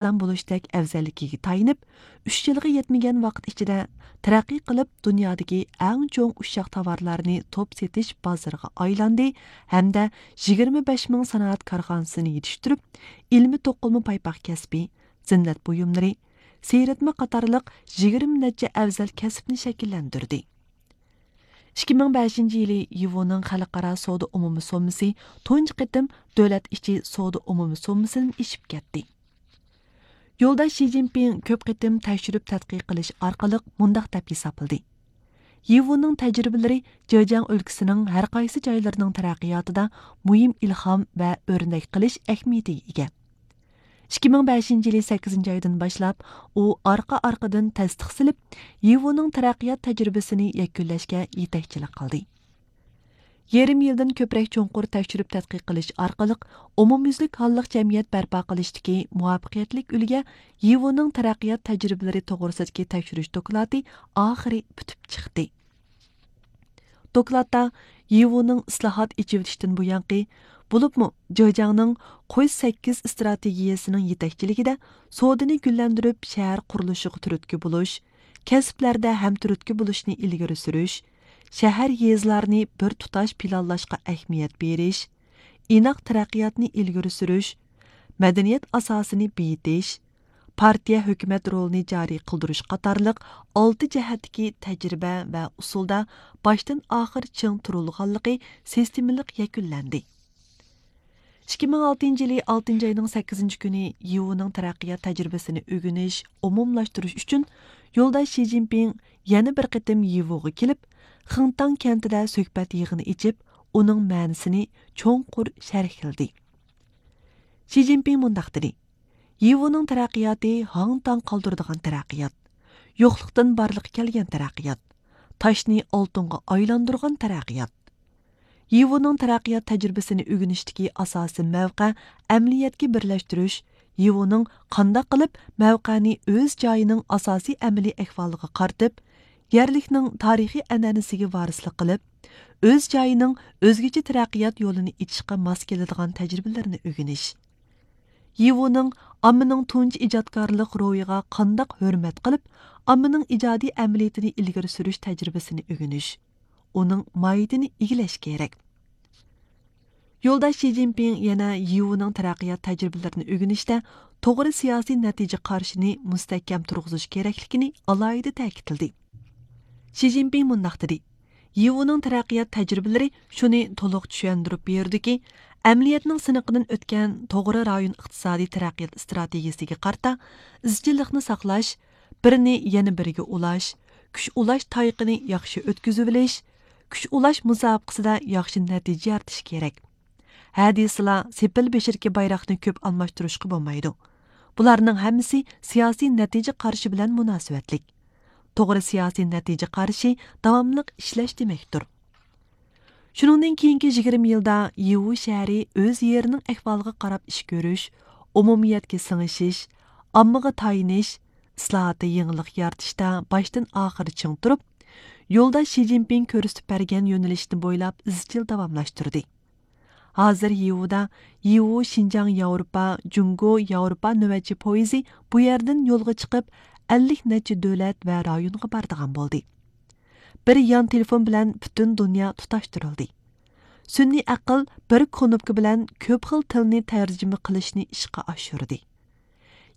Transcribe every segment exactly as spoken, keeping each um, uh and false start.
ساغلام بولۇشتەك ئەۋزەللىكىگە تايىنىپ، ئۈچ يىلغا يەتمىگەن ۋاقىت ئىچىدە تەرەققىي قىلىپ، دۇنيادىكى ئەڭ چوڭ ئۇششاق تاۋارلارنى توپ سېتىش بازىرىغا ئايلاندى ھەمدە يىگىرمە بەش مىڭ سانائەت كارخانىسىنى يېتىشتۈرۈپ، ئىلمىي توقۇلما پايپاق كەسپى، زىننەت بۇيۇملىرى، سېرىتمە قاتارلىق يىگىرمە نەچچە ئەۋزەل كەسىپنى شەكىللەندۈردى. ئىككى مىڭ بەشىنچى يىلى يىۋۇنىڭ خەلقئارا سودا ئومۇمىي سوممىسى تۇنجى قېتىم دۆلەت ئىچى سودا ئومۇمىي سوممىسىدىن ئېشىپ كەتتى. يولداش شى جىنپىڭ كۆپ قېتىم تەكشۈرۈپ تەتقىق قىلىش ئارقىلىق مۇنداق دەپ ھېسابلىدى: يىۋۇنىڭ تەجرىبىلىرى جېجياڭ ئۆلكىسىنىڭ ھەر قايسى جايلىرىنىڭ تەرەققىياتىدا مۇھىم ئىلھام ۋە ئۆرنەك قىلىش ئەھمىيىتىگە ئىگە. ئىككى مىڭ بەشىنچى يىلى سەككىزىنچى ئايدىن باشلاپ، ئۇ ئارقا-ئارقىدىن تەستىق سېلىپ، يىۋۇنىڭ تەرەققىيات تەجرىبىسىنى يەكۈنلەشكە يېتەكچىلىك قىلدى. يېرىم يىلدىن كۆپرەك چوڭقۇر تەكشۈرۈپ تەتقىق قىلىش ئارقىلىق، ئومۇميۈزلۈك ھاللىق جەمئىيەت بەرپا قىلىشتىكى مۇۋەپپەقىيەتلىك ئۈلگە يىۋۇنىڭ تەرەققىيات تەجرىبىلىرى توغرىسىدىكى تەكشۈرۈش دوكلاتى ئاخىرى پۈتۈپ چىقتى. دوكلاتتا يىۋۇنىڭ ئىسلاھات، ئېچىۋېتىشتىن بۇيانقى، بولۇپمۇ جېجياڭنىڭ قوي سەككىز ئىستراتېگىيەسىنىڭ يېتەكچىلىكىدە سودىنى گۈللەندۈرۈپ، شەھەر قۇرۇلۇشىغا تۈرتكە بولۇش، كەسىپلەردە ھەمتۈرتكە بولۇشنى ئىلگىرى سۈرۈش، شەھەر، يېزىلارنى بىر تۇتاش پىلانلاشقا ئەھمىيەت بېرىش، ئىناق تەرەققىياتنى ئىلگىرى سۈرۈش، مەدەنىيەت ئاساسىنى بېيىتىش، پارتىيە، ھۆكۈمەت رولىنى جارى قىلدۇرۇش قاتارلىق ئالتە جەھەتتىكى تەجرىبە ۋە ئۇسۇلدا باشتىن ئاخىر چىڭ تۇرۇلغانلىقى سىستېمىلىق يەكۈنلەندى. ئىككى مىڭ ئالتىنچى يىلى ئالتىنچى ئاينىڭ سەككىزىنچى كۈنى يىۋۇنىڭ تەرەققىيات تەجرىبىسىنى ئۆگىنىش، ئومۇملاشتۇرۇش ئۈچۈن يولداش شى جىنپىڭ يەنە بىر قېتىم يىۋۇغا كېلىپ، خېڭتاڭ كەنتىدە سۆھبەت يىغىنى ئېچىپ، ئۇنىڭ مەنىسىنى چوڭقۇر شەرھلىدى. شى جىنپىڭ مۇنداق دېدى: يىۋۇنىڭ تەرەققىياتى ھاڭ-تاڭ قالدۇرىدىغان تەرەققىيات، يوقلۇقتىن بارلىققا كەلگەن تەرەققىيات، تاشنى ئالتۇنغا ئايلاندۇرغان تەرەققىيات. يىۋۇنىڭ تەرەققىيات تەجرىبىسىنى ئۆگىنىشتىكى ئاساسىي مەۋقە ئەمەلىيەتكە بىرلەشتۈرۈش، يىۋۇنىڭ قانداق قىلىپ مەۋقەنى ئۆز جايىنىڭ ئاساسىي ئەمەلىي ئەھۋالىغا قارىتىپ، يەرلىكنىڭ تارىخىي ئەنئەنىسىگە ۋارىسلىق قىلىپ، ئۆز جايىنىڭ ئۆزگىچە تەرەققىيات يولىنى ئېچىشقا ماس كېلىدىغان تەجرىبىلىرىنى ئۆگىنىش. يىۋۇنىڭ ئاممىنىڭ تۇنجى ئىجادكارلىق روھىغا قانداق ھۆرمەت قىلىپ، ئاممىنىڭ ئىجادىي ئەمەلىيىتىنى ئىلگىرى سۈرۈش تەجرىبىسىنى ئۆگىنىش، ئۇنىڭ ماھىيىتىنى ئىگىلەش كېرەك. يولداش شى جىنپىڭ يەنە يىۋۇنىڭ تەرەققىيات تەجرىبىلىرىنى ئۆگىنىشتە توغرا سىياسىي نەتىجە قارىشىنى مۇستەھكەم تۇرغۇزۇش كېرەكلىكىنى ئالاھىدە تەكىتلىدى. شى جىنپىڭ مۇنداق دېدى: يىۋۇنىڭ تەرەققىيات تەجرىبىلىرى شۇنى تولۇق چۈشەندۈرۈپ بېرىدۇكى، ئەمەلىيەتنىڭ سىنىقىدىن ئۆتكەن توغرا رايون ئىقتىسادىي تەرەققىيات ئىستراتېگىيىسىگە قارىتا ئىزچىللىقنى ساقلاش، بىرنى يەنە بىرىگە ئۇلاش، كۈچ ئۇلاش تايىقىنى ياخشى ئۆتكۈزۈۋېلىش، كۈچ ئۇلاش مۇسابىقىسىدە ياخشى نەتىجە يارىتىش كېرەك. ھە دېسىلا، سېپىل بېشىدىكى بايراقنى كۆپ ئالماشتۇرۇشقا بولمايدۇ. بۇلارنىڭ ھەممىسى سىياسىي نەتىجە قارىشى بىلەن مۇناسىۋەتلىك. توغرا سىياسىي نەتىجە قارىشى داۋاملىق ئىشلەش دېمەكتۇر. شۇنىڭدىن كېيىنكى يىگىرمە يىلدا يىۋۇ شەھىرى ئۆز يېرىنىڭ ئەھۋالىغا قاراپ ئىش كۆرۈش، ئومۇمىيەتكە سىڭىشىش، ئاممىغا تايىنىش، ئىسلاھاتتا يېڭىلىق يارىتىشتا باشتىن ئاخىر چىڭ تۇرۇپ، يولداش شى جىنپىڭ كۆرسىتىپ بەرگەن يۆنىلىشنى بويلاپ ئىزچىل داۋاملاشتۇردى. ھازىر يىۋۇدا يىۋۇ شىنجاڭ ياۋروپا، جۇڭگو ياۋروپا نۆۋەتچى پويىزى بۇ يەردىن يولغا چىقىپ، ئەللىك نەچچە دۆلەت ۋە رايونغا بارىدىغان بولدى. بىر يان تېلېفون بىلەن پۈتۈن دۇنيا تۇتاشتۇرۇلدى. سۈنئىي ئەقىل بىر كۇنۇپكا بىلەن كۆپ خىل تىلنى تەرجىمە قىلىشنى ئىشقا ئاشۇردى.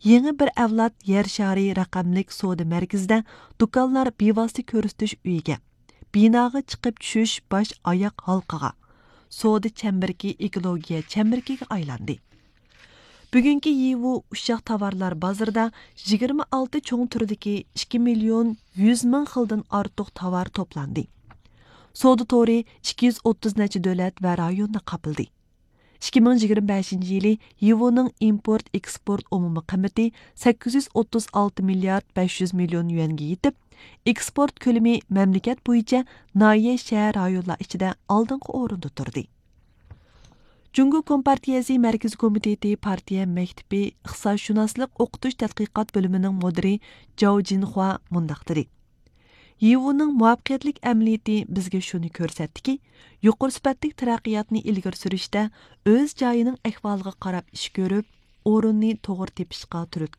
يېڭى بىر ئەۋلاد يەر شارى رەقەملىك سودا مەركىزىدە دۇكانلار بىۋاسىتە كۆرسىتىش ئۆيىگە، بىناغا چىقىپ چۈشۈش باش ئاياق ھالقىغا، سودا چەمبىرىكى ئېكولوگىيە چەمبىرىكىگە ئايلاندى. بۈگۈنكى يىۋۇ ئۇششاق تاۋارلار بازىرىدا يىگىرمە ئالتە چوڭ تۈردىكى ئىككى مىليون يۈز مىڭ خىلدىن ئارتۇق تاۋار توپلاندى. سودا تورى ئىككى يۈز ئوتتۇز نەچچە دۆلەت ۋە رايوننى قاپلىدى. ئىككى مىڭ يىگىرمە بەشىنچى يىلى يىۋۇنىڭ ئىمپورت ئېكسپورت ئومۇمىي قىممىتى سەككىز يۈز ئوتتۇز ئالتە مىليارد بەش يۈز مىليون يۈەنگە يېتىپ، ئېكسپورت كۆلىمى مەملىكەت بويىچە ناھىيە، شەھەر، رايونلار ئىچىدە ئالدىنقى ئورۇندا تۇردى. جۇڭگو كومپارتىيەسى مەركىزىي كومىتېتى پارتىيە مەكتىپى ئىقتىسادشۇناسلىق ئوقۇتۇش تەتقىقات بۆلۈمىنىڭ مۇدىرى جاۋ جىنخۇا مۇنداق دېدى: يىۋۇنىڭ مۇۋەپپەقىيەتلىك ئەمەلىيىتى بىزگە شۇنى كۆرسەتتىكى، يۇقىرى سۈپەتلىك تەرەققىياتنى ئىلگىرى سۈرۈشتە ئۆز جايىنىڭ ئەھۋالىغا قاراپ ئىش كۆرۈپ، ئورۇننى توغرا تېپىشقا تۈرتكە